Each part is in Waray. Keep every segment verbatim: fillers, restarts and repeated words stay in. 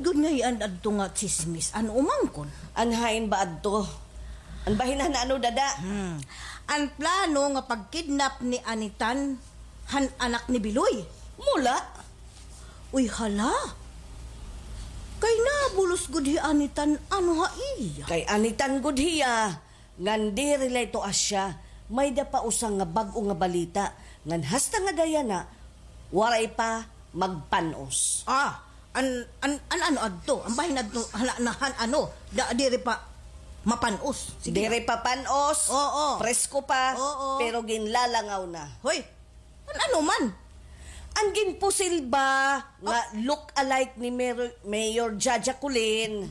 Gud nga hian adto nga tsismis, ano umangkon? An hain ba adto? An bahin han ano, dada? Hmm. An plano nga pagkidnap ni Anitan han anak ni Biloy. Mula? Uy, hala. Kay nabulos gud hi Anitan, ano ha iya? Kay Anitan gud hiya. Ngan diri la ito asya, may-da pa usa nga bag-o nga balita, ngan hasta ngada yana, waray pa magpan-os. Ah, an, an, an ano adto? An bahin adto, han, han, han ano, da, diri pa mapan-os. Sige. Diri pa pan-os, oo, presko pa, oo, pero ginlalangaw na. Hoy, an ano man? An ginpusil ba nga look-alike ni Mayor, Mayor Jaja Colin?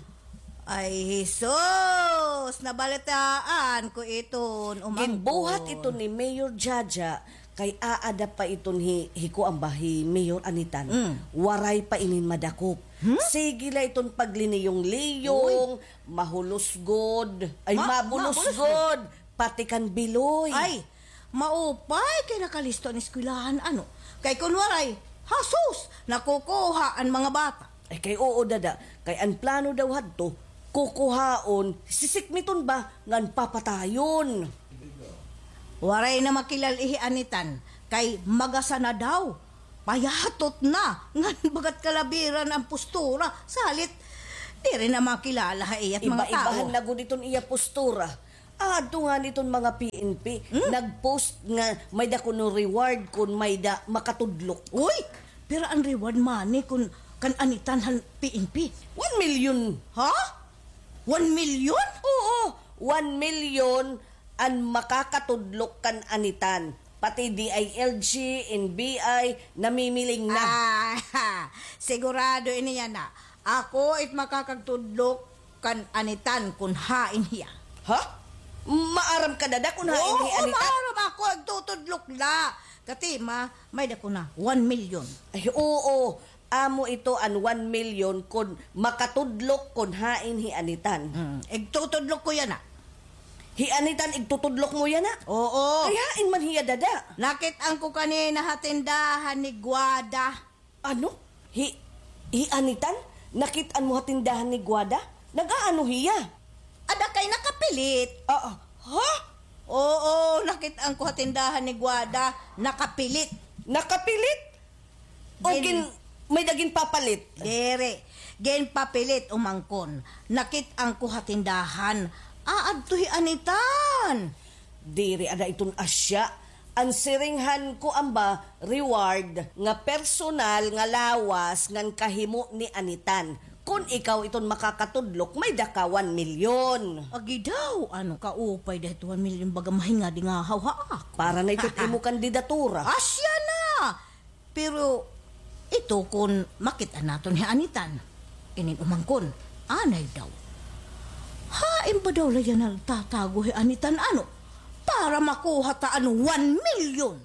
Ay, Jesus! Nabalitaan ko iton, umangkon. Ginbuhat ito ni Mayor Jaja, kay aada pa iton hi, hi kuan ba, hi Mayor Anitan. Mm. Waray pa inin madakop. Hmm? Sige la iton pagliniyong-liyong, uy, mahulos gud. Ay, ma-, mabulos gud. Pati kan Biloy. Ay, maupay kay nakalisto an eskwelahan, ano? Kay kun waray, hasus, nakukuha an mga bata. Ay, kay oo, dada. Kay an plano daw hadto, kukuhaon, sisikmiton ba, ngan papatayon. Waray na makilal-i hi Anitan, kay magasa na daw. Payatot na, ngan bagat kalabiran an postura. Salit, diri na makilala ha iya it mga tawo. Iba-ibahan na gud iton iya postura. Adto ngani iton mga P N P, hmm? Nag-post nga may-da kuno reward kun may-da makatudlok. Uy! Pira an reward money kun kan Anitan han P N P? One million. Ha? One million? Oo, one million an makakatudlok kan Anitan. Pati D I L G, N B I, namimiling na. Ah, sigurado ini yana. Ako it makakagtudlok kan Anitan kun hain hiya. Ha? Maaram ka, dada, kun hain hi Anitan? Oo, maaram ako, agtutudlok la. Katima, may-da ko na, one million. Ay, oo. Amo ito an one million kun makatudlok kun hain hi Anitan. Hmm, igtutudlok ko yana. Hi Anitan, igtutudlok mo yana? Oo. Ay, hain man hiya, dada? Nakit-an ko kanina ha tindahan ni Guada. Ano? Hi, hi Anitan? Nakit-an mo ha tindahan ni Guada? Nag-aano hiya? Ada kay nakapilit. Ah, ah. Ha? Oo, nakit-an ko ha tindahan ni Guada, nakapilit. Nakapilit? O gin-, may-da ginpapalit? Diri. Ginpapilit, umangkon. Nakit-an ko ha tindahan. Aadto hi Anitan. Diri ada iton asya. An siring han kuan ba, reward nga personal nga lawas ngan kahimo ni Anitan. Kun ikaw iton makakatudlok, may-da ka one million. Agi daw, ano, kaupay da ito one million, baga mahingadi nga hawha ako. Para na ito imo kandidatura. Asya na! Pero ito kun makit-an naton hi Anitan. Inin umangkon, anay daw. Hain ba daw la yana nagtatago hi Anitan, ano? Para makuha ta an one million.